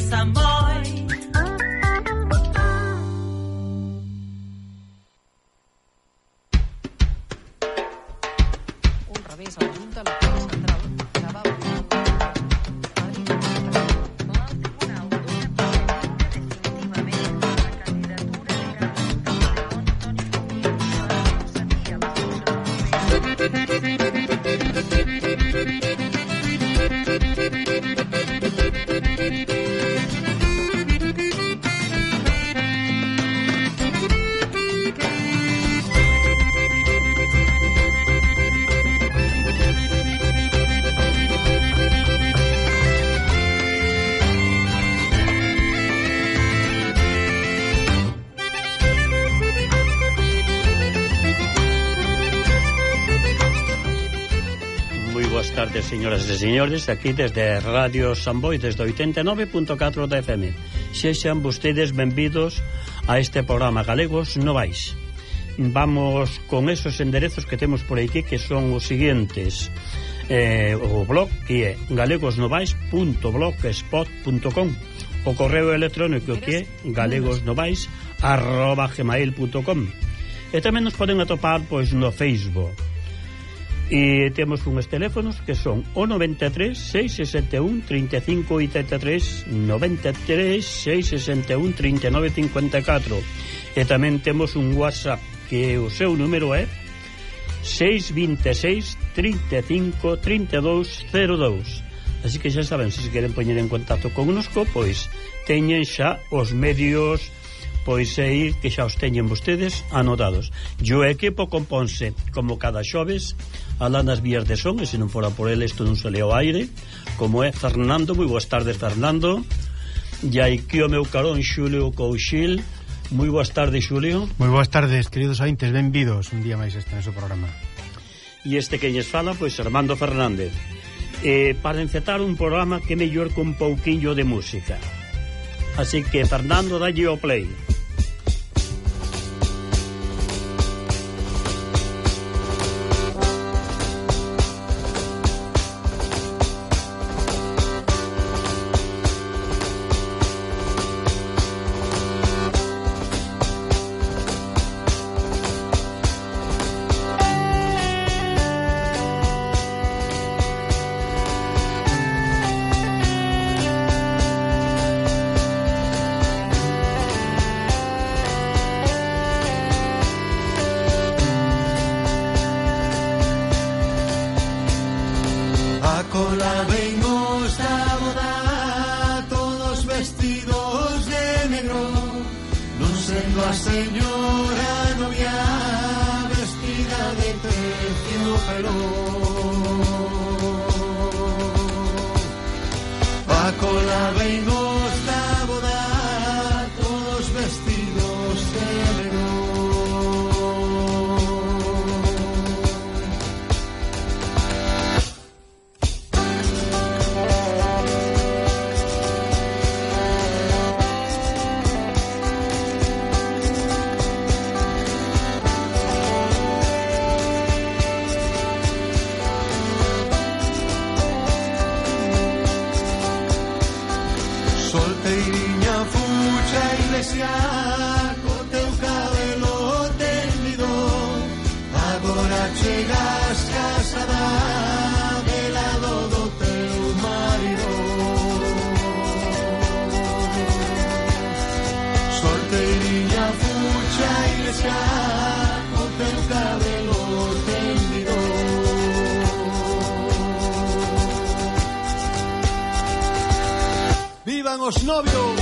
Samboy. Un revés a la Junta Electoral Central que va a tardes, señoras e señores, aquí desde Radio Samboy, desde 89.4 da FM. Sexan vostedes benvidos a este programa Galegos Novais. Vamos con esos enderezos que temos por aquí, que son os seguintes. O blog, que é galegosnovais.blogspot.com, o correo electrónico, que é galegosnovais@gmail.com, e tamén nos poden atopar pois no Facebook. E temos uns teléfonos que son o 93 661 35 83, 93 661 39 54, e tamén temos un WhatsApp que o seu número é 626 35 32 02. Así que xa saben, se queren poñer en contacto connosco, pois teñen xa os medios, pois ir que xa os teñen vostedes anotados. E o equipo componse como cada xoves alá nas vías de son, e se non fora por ele isto non se leo aire, como é Fernando. Moi boas tardes, Fernando. E aquí o meu carón Xulio Couchil. Moi boas tardes, Xulio. Moi boas tardes, queridos ointes, benvidos un día máis este noso programa. E este que lles fala, pois Armando Fernández. Para encetar un programa que mellor con pouquiño de música. Así que, Fernando, dalle o play. Vivan os novios.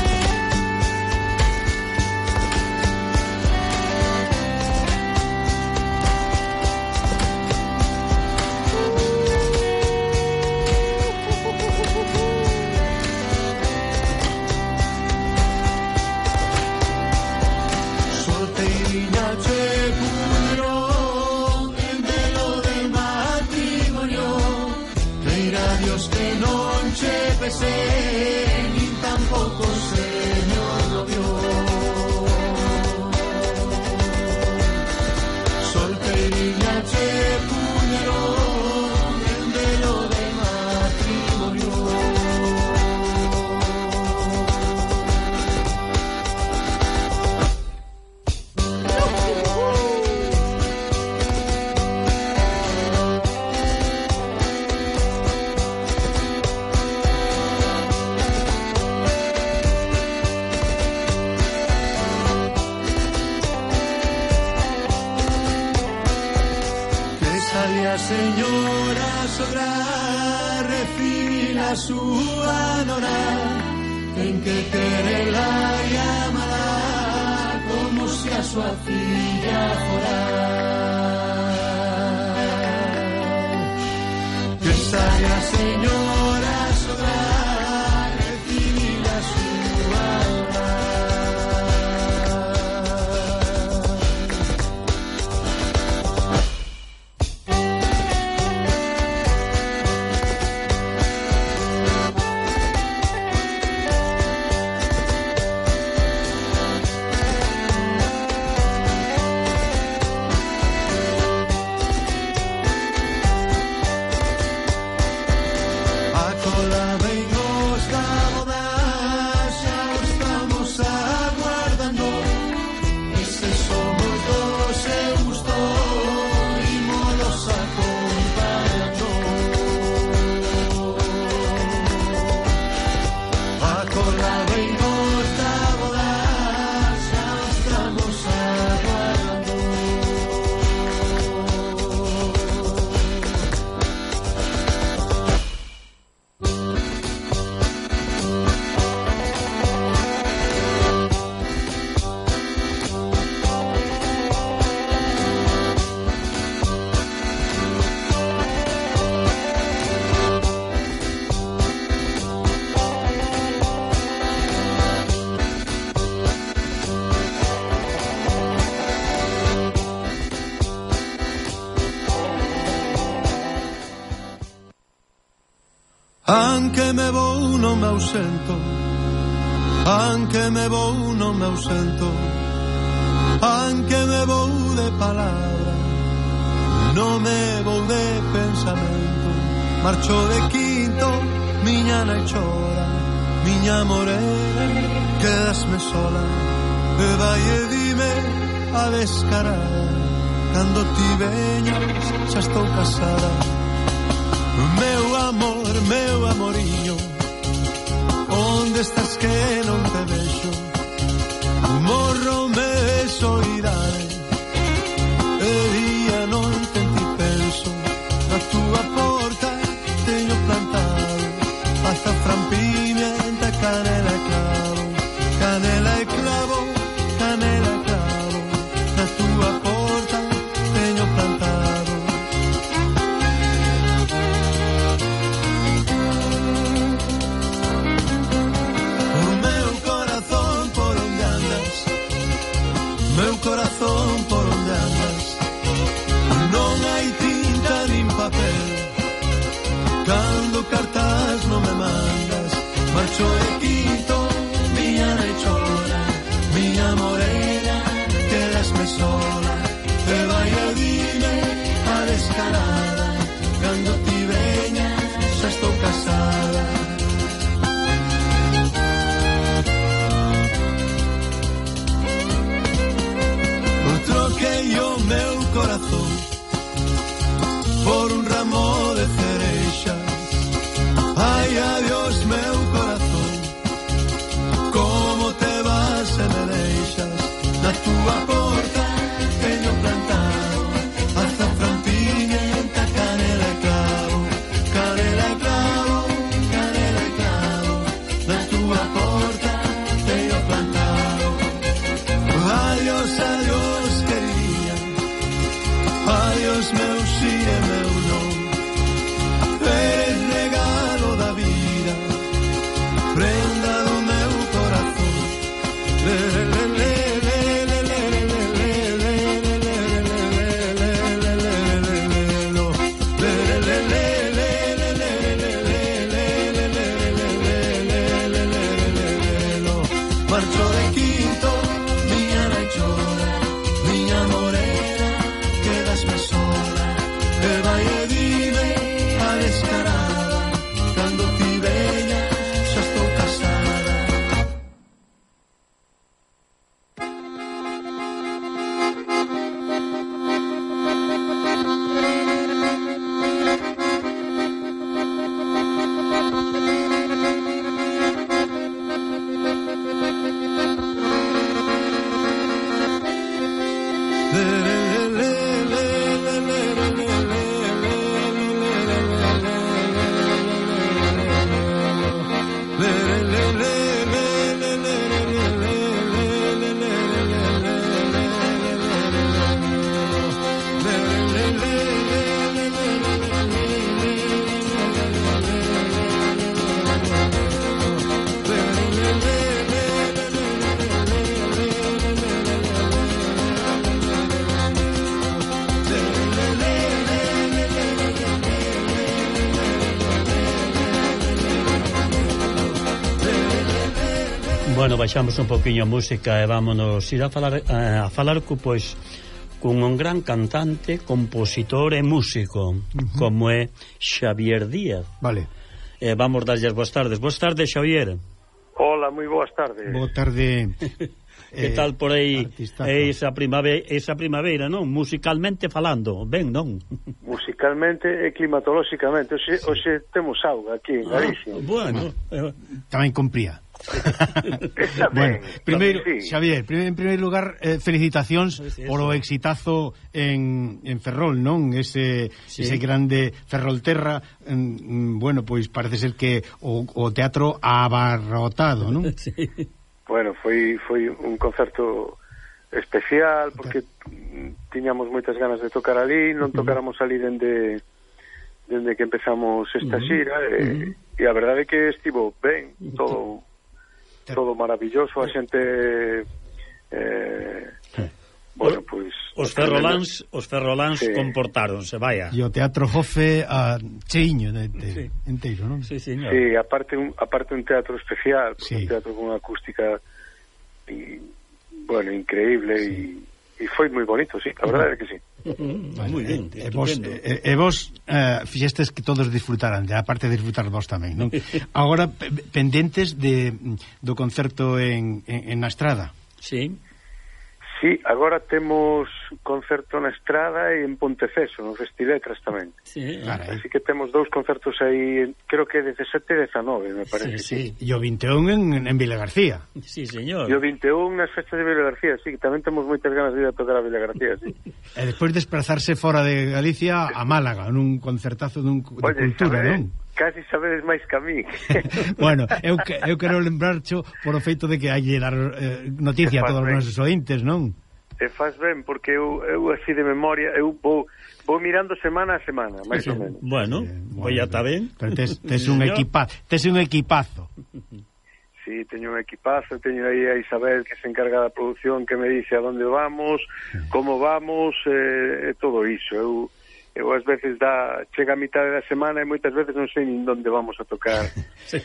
Ni tampoco señor novio. Solterina che puñerón en velo de matrimonio. recibir a súa nora, ten que querela e amala como se a súa filla fora. Que saia señora sobrar, recibir a súa hora. Anche me vou non me ausento, anche me vou non me ausento, anche me vou de palabra, non me vou de pensamento. Marcho de quinto, miña nai chora, miña morena, quedasme sola, e vai e dime a descarada, cando ti veñas xa estou casada. Meu amoriño, onde estás que non te vexo? Morro me de soidade, e día non te ti penso. Na túa porta teño plantado azafrán, pimienta, canela e clavo, canela e clavo, canela e clavo. Na túa porta teño plantado. Corazón por onde andas, non hai tinta nin papel, cando cartas non me mandas. Marcho e quito, miña nai chora, miña morena, quedasme sola, e vai a dime a descarada, cando ti veñas xa estou casada. Troquei o meu corazón por un ramo de cereixas. Ai, adiós meu corazón, como te vas e me deixas. Na túa porta teño plantado azafrán, pimienta, canela e clavo, canela e clavo, canela e clavo. Na túa porta teño plantado. Adiós, adiós, adiós meu si e meu non, eres regalo da vida, Bueno, baixamos un poquinho a música e vámonos ir a falar pois cun un gran cantante, compositor e músico, como é Xavier Díaz. Vale. Vamos darlles boas tardes. Boas tardes, Xavier. Hola, moi boas tardes. Boa tarde. Que tal por aí esa primavera, non? Musicalmente falando, ben, non? Musicalmente e climatolóxicamente. Hoxe temos auga aquí en Galicia. Bueno. Tamén compría. Bueno, primeiro, sí. Xavier, en primeiro lugar, felicitacións polo exitazo en Ferrol, non? Ese grande Ferrolterra, bueno, pois parece ser que o teatro abarrotado, non? Sí. Bueno, foi un concerto especial porque tiñamos moitas ganas de tocar ali, non tocáramos ali dende que empezamos esta xira e a verdade é que estivo ben, todo maravilloso, a xente bueno, pois os ferroláns comportáronse, vaya. E o Teatro Jofe cheiño enteiro, non? Sí, señor. Sí, aparte un teatro especial, sí. Un teatro con unha acústica bueno, increíble e foi moi bonito, sí, a verdade é que sí. Moi ben, e vos fixestes que todos disfrutaran, aparte de disfrutar vos tamén, non? Agora, pendentes do concerto en na Estrada. Sí. Sí, agora temos concerto na Estrada e en Ponteceso, no Festiletras tamén. Sí. Así que temos dous concertos aí, creo que 17 e 19, me parece. Sí. E o 21 en Vila García. Sí, señor. E o 21 nas festas de Vila García, sí, que tamén temos moitas ganas de ir a tocar a Vila García, sí. E despois desplazarse fora de Galicia a Málaga, nun concertazo de cultura, non? Casi sabedes máis que a mí. Bueno, eu quero lembrarcho por o feito de que hai que dar noticia a todos os nosos ointes, non? E faz ben, porque eu así de memoria, eu vou mirando semana a semana, máis ou menos. Bueno, pois ya está ben. Pero tes un equipazo. Sí, teño un equipazo, teño aí a Isabel que se encarga da produción, que me dice a donde vamos, como vamos, e todo iso. Eu ás veces chega a mitad da semana e moitas veces non sei nin onde vamos a tocar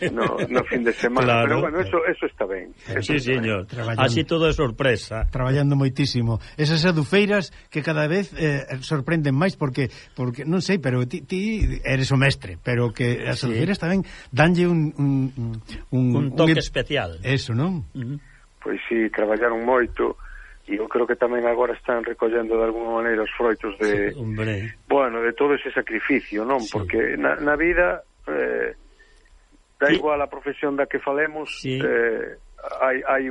no fin de semana, claro. Pero bueno, eso está ben. Sí, señor. Así todo é sorpresa. Traballando moitísimo. Esas adufeiras que cada vez sorprenden máis porque non sei, pero ti eres o mestre, pero que as adufeiras tamén danlle un toque especial. Eso, non? Pois sí, traballaron moito. E eu creo que tamén agora están recollendo de alguma maneira os froitos de todo ese sacrificio, non? Sí. Porque na vida da igual a profesión da que falemos, hai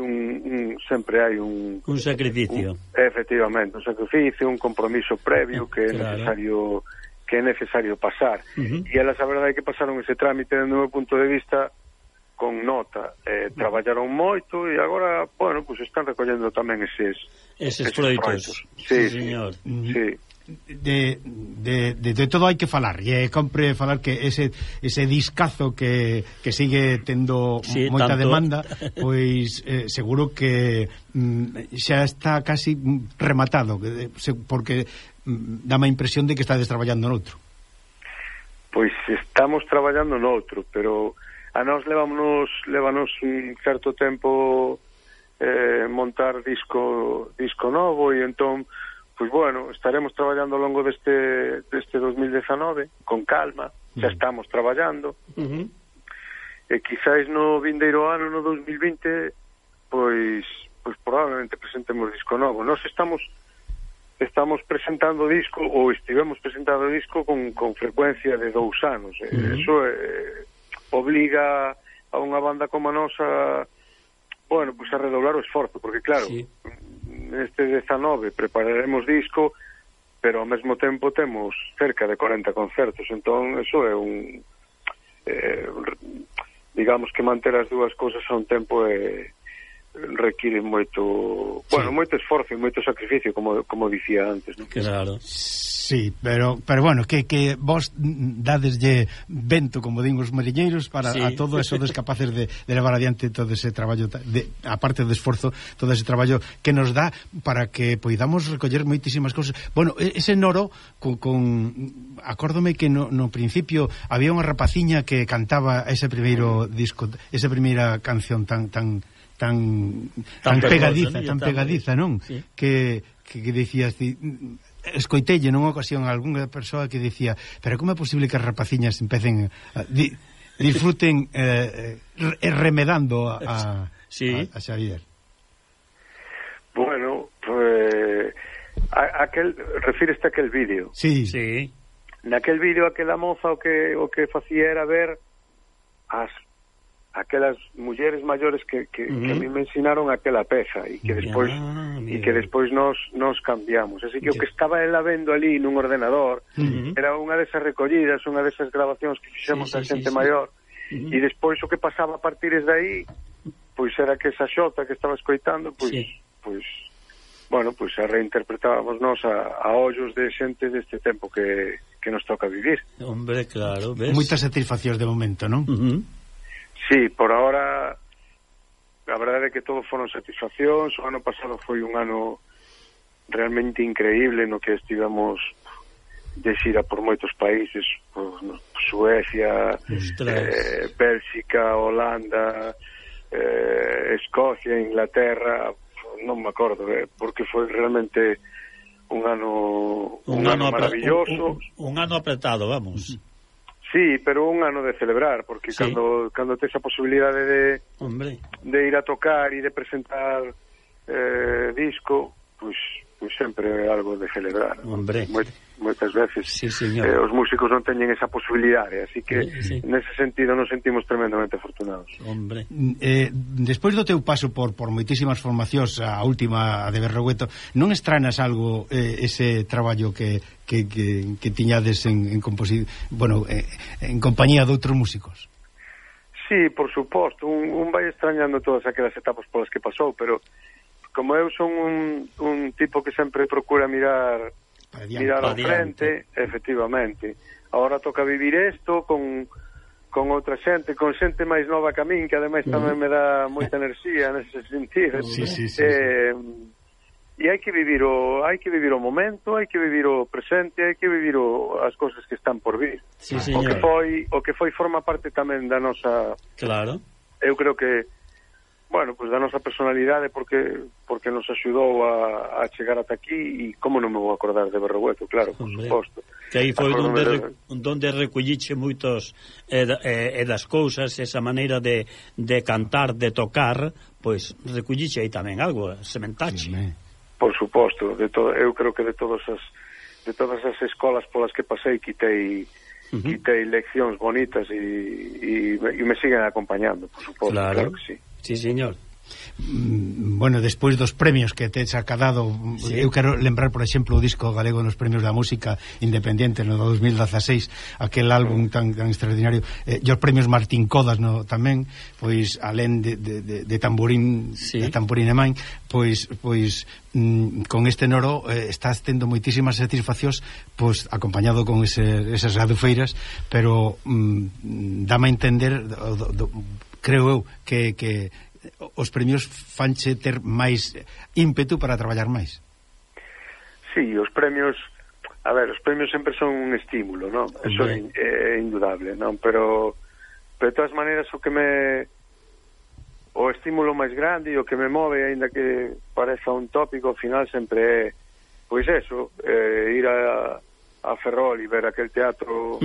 sempre hai un sacrificio. Efectivamente, un sacrificio, un compromiso previo que é necesario pasar. E elas a verdade é que pasaron ese trámite desde o meu punto de vista con nota, traballaron moito e agora, bueno, pues están recollendo tamén eses froitos. Sí, señor. Sí. De todo hai que falar e compre falar que ese discazo que sigue tendo moita demanda, pois seguro que xa está casi rematado, porque dame a impresión de que estades traballando noutro. Pois estamos traballando noutro, pero a nós levanos un certo tempo montar disco novo e entón, pois bueno, estaremos traballando ao longo deste 2019 con calma, xa estamos traballando e quizáis no vindeiro ano, no 2020 pois probablemente presentemos disco novo. Nós estamos presentando disco ou estivemos presentando disco con frecuencia de 2 anos. Eso obliga a unha banda como a nosa, bueno, pues a redoblar o esforzo, porque claro, neste 19 prepararemos disco, pero ao mesmo tempo temos cerca de 40 concertos, entón eso é digamos que manter as dúas cousas a un tempo requiere moito, moito esforzo e moito sacrificio, como dicía antes, ¿no? Claro. Sí, pero bueno, que vos dadeslle vento, como din os mariñeiros, para a todo eso des capaces de levar adiante todo ese traballo, aparte do esforzo, todo ese traballo que nos dá para que poidamos recoller moitísimas cousas. Bueno, ese Noro acórdome que no principio había unha rapaciña que cantaba ese primeiro disco, esa primeira canción tan pegadiza, non? Sí. Que dicías, escoitelle nunha ocasión a algunha persoa que dicía, pero como é posible que as rapaciñas empecen disfruten remedando a Xavier? Bueno, pues refíreste a aquel vídeo. Sí. Naquel vídeo aquela moza o que facía era ver aquelas mulleres maiores que a mí me ensinaron aquela peza e que despois nos cambiamos. Así que o que estaba ela vendo ali nun ordenador era unha desas recollidas, unha desas grabacións que fixemos da xente maior, e despois o que pasaba a partir de aí pois era que esa xota que estaba escoitando pois a reinterpretábamos nós a ollos de xente deste tempo que nos toca vivir. Hombre, claro, ves? Moitas satisfaccións de momento, non? Sí, por ahora a verdade é que todo foron satisfaccións. O ano pasado foi un ano realmente increíble no que estivemos de xira por moitos países, Suecia, Bélxica, Holanda, Escocia, Inglaterra, non me acordo, porque foi realmente un ano maravilloso, un ano apretado, vamos. Sí, pero un ano de celebrar, porque cando tes a posibilidade de ir a tocar e de presentar disco, pois sempre é algo de celebrar. Hombre. Moitas veces os músicos non teñen esa posibilidade, así que nese sentido nos sentimos tremendamente afortunados. Hombre. Despois do teu paso por moitísimas formacións, a última de Berrogueto, non estranas algo ese traballo que tiñades en compañía de outros músicos? Sí, por suposto, un vai extrañando todas aquelas etapas polas que pasou, pero como eu son un tipo que sempre procura mirar ao frente, efectivamente. Ahora toca vivir isto con outra xente, con xente máis nova que a min, que ademais tamén me dá moita enerxía nese sentido. Sí. E hai que vivir o momento, hai que vivir o presente, hai que vivir as cousas que están por vir. Sí, o que foi forma parte tamén da nosa... Claro. Eu creo que da nosa personalidade, porque nos axudou a chegar ata aquí, e como non me vou acordar de Berrogueto, claro, por suposto. Que aí foi donde recolliche moitos das cousas, esa maneira de cantar, de tocar, pois recolliche aí tamén algo, sementache. Por suposto, eu creo que de todas as escolas polas que pasei quitei leccións bonitas e me siguen acompañando, por suposto, claro que sí. Sí, señor. Bueno, despois dos premios que tes acadado, eu quero lembrar, por exemplo, o disco galego nos premios da música independiente no 2016, aquel álbum tan extraordinario, e os premios Martín Codas tamén, pois alén de Tamborín, de Tamborín e Man, pois con este Noro estás tendo moitísimas satisfaccións, pois acompañado con esas radufeiras, pero dame a entender, creo eu, que os premios fanche ter máis ímpetu para traballar máis. Sí, os premios sempre son un estímulo, non? Eso é indudable, non? Pero de todas maneiras o estímulo máis grande e o que me move, aínda que pareza un tópico, ao final sempre é pois eso, ir a Ferrol e ver aquel teatro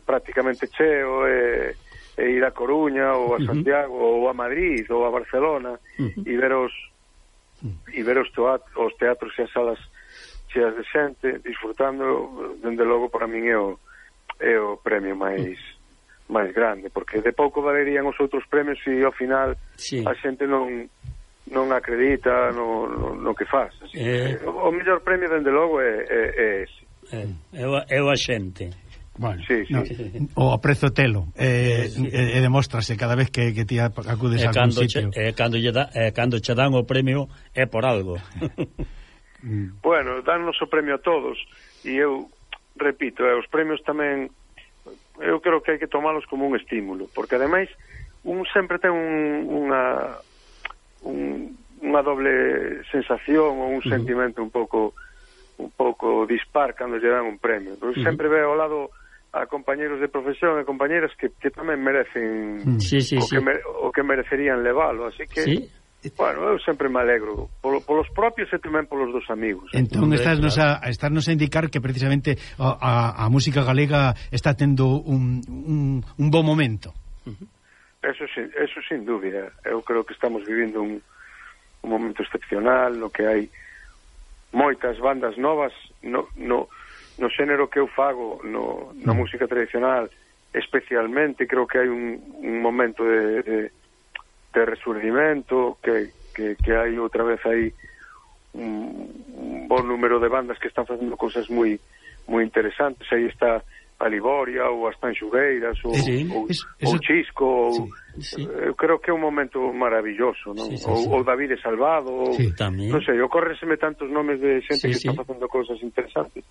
prácticamente cheo, e ir a Coruña ou a Santiago ou a Madrid ou a Barcelona e ver os teatros e as salas cheas de xente disfrutando, dende logo para min é o premio máis grande, porque de pouco valerían os outros premios se ao final a xente non acredita no que faz. Así que o mellor premio dende logo é ese. É o a xente. Bueno, o aprezo telo e demóstrase cada vez que ti acudes a algún sitio. Cando che dan o premio é por algo. Bueno, dannos o premio a todos, e eu repito, os premios tamén eu creo que hai que tomalos como un estímulo, porque ademais un sempre ten unha doble sensación ou un sentimento un pouco dispar cando lle dan un premio. Sempre ve ao lado compañeros de profesión e compañeras que tamén merecen o que merecerían levalo, así que bueno, eu sempre me alegro polos propios e tamén polos dos amigos. Entón estarnos a indicar que precisamente a música galega está tendo un bo momento. Eso sin dúbida. Eu creo que estamos vivindo un momento excepcional no que hai moitas bandas novas no xénero que eu fago na música tradicional, especialmente creo que hai un momento de resurdimento, que hai outra vez aí un bon número de bandas que están facendo cosas moi interesantes. Aí está a Liboria ou as Tanxugueiras ou Chisco eu creo que é un momento maravilloso, non? Ou David Salvado non sei, ocórrenseme tantos nomes de xente que está facendo cosas interesantes.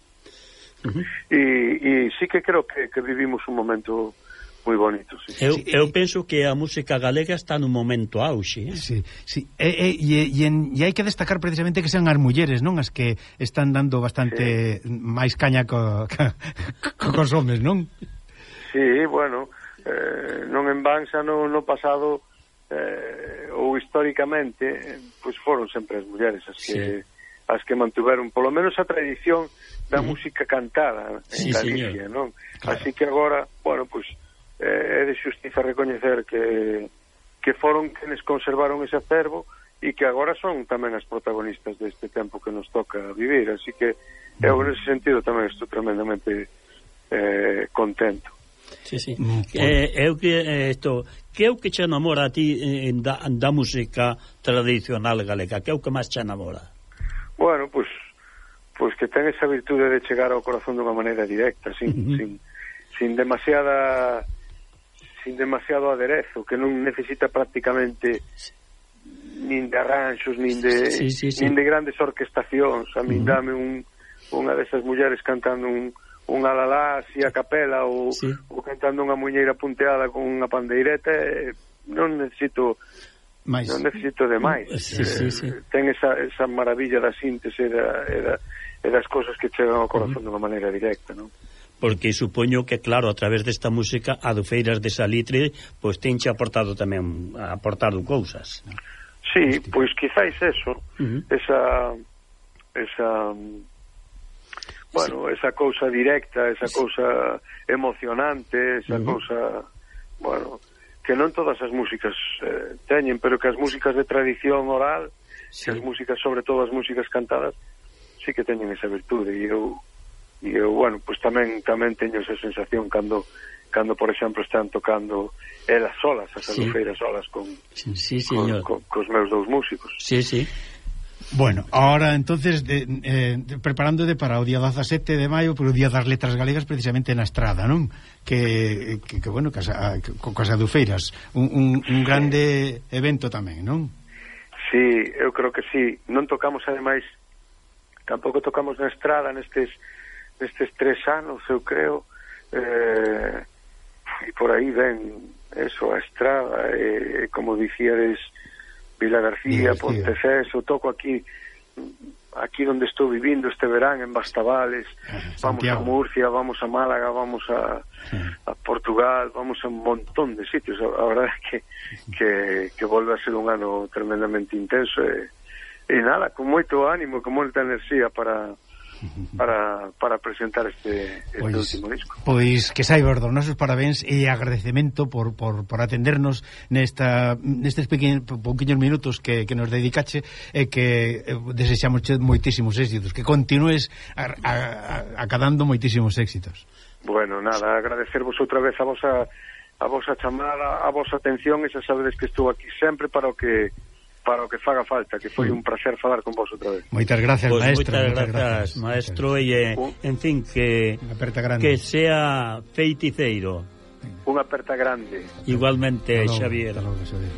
E sí que creo que vivimos un momento moi bonito, Eu penso que a música galega está nun momento auxe. E hai que destacar precisamente que sean as mulleres, non? As que están dando bastante máis caña cos homes, non? Sí, bueno, non en van xa no pasado ou históricamente, pois foron sempre as mulleres as que mantuveron polo menos a tradición da música cantada en Galicia, non? Así que agora, bueno, pois é de xustiza recoñecer que foron quenes conservaron ese acervo e que agora son tamén as protagonistas deste tempo que nos toca vivir, así que eu nese sentido tamén estou tremendamente contento. Que é o que che enamora a ti da música tradicional galega? Que é o que máis che enamora? Bueno, pois que ten esa virtude de chegar ao corazón dunha maneira directa, sin demasiado aderezo, que non necesita prácticamente nin de arranxos, nin de grandes orquestacións. A min dame unha desas mulleres cantando un alalá así a capela ou cantando unha muñeira punteada con unha pandeireta, non necesito de máis. Ten esa maravilla da síntese e das cosas que chegan ao corazón dunha maneira directa, non? Porque supoño que, claro, a través desta música Adufeiras de Salitre pois tenche aportado cousas. Sí, pois quizáis eso, esa bueno, esa cousa directa, esa cousa emocionante, esa cousa, bueno, que non todas as músicas teñen, pero que as músicas de tradición oral, que as músicas, sobre todo as músicas cantadas, sí que teñen esa virtude. E eu, bueno, pues tamén teño esa sensación cando por exemplo están tocando elas solas, as Adufeiras solas cos meus dous músicos. Bueno, ahora entonces preparándote para o día 17 de maio, por o día das letras galegas, precisamente na Estrada, non? Que bueno, cos Adufeiras, un grande evento tamén, non? Sí, eu creo que sí. Non tocamos ademais, tampouco tocamos na Estrada nestes 3 anos, eu creo, e por aí ven eso, a Estrada, como dicíades, Vila García, Ponteceso, toco aquí onde estou vivindo este verán, en Bastavales, vamos a Murcia, vamos a Málaga, vamos a Portugal, vamos a un montón de sitios. A verdade é que volve a ser un ano tremendamente intenso e nada, con moito ánimo, con moita enerxía para presentar este último disco. Pois que saiba os nosos parabéns e agradecemento por atendernos nestes pouquiños minutos que nos dedicache, e que desexamos moitísimos éxitos, que continúes acadando moitísimos éxitos. Bueno, nada, agradecervos outra vez a vosa chamada, a vosa atención, e xa sabedes que estou aquí sempre para o que faga falta, que foi un placer falar con vos outra vez. Moitas gracias, maestro. Moitas gracias, maestro, e en fin, que sea feiticeiro. Unha aperta grande. Igualmente, Xavier. Hasta logo, Xavier.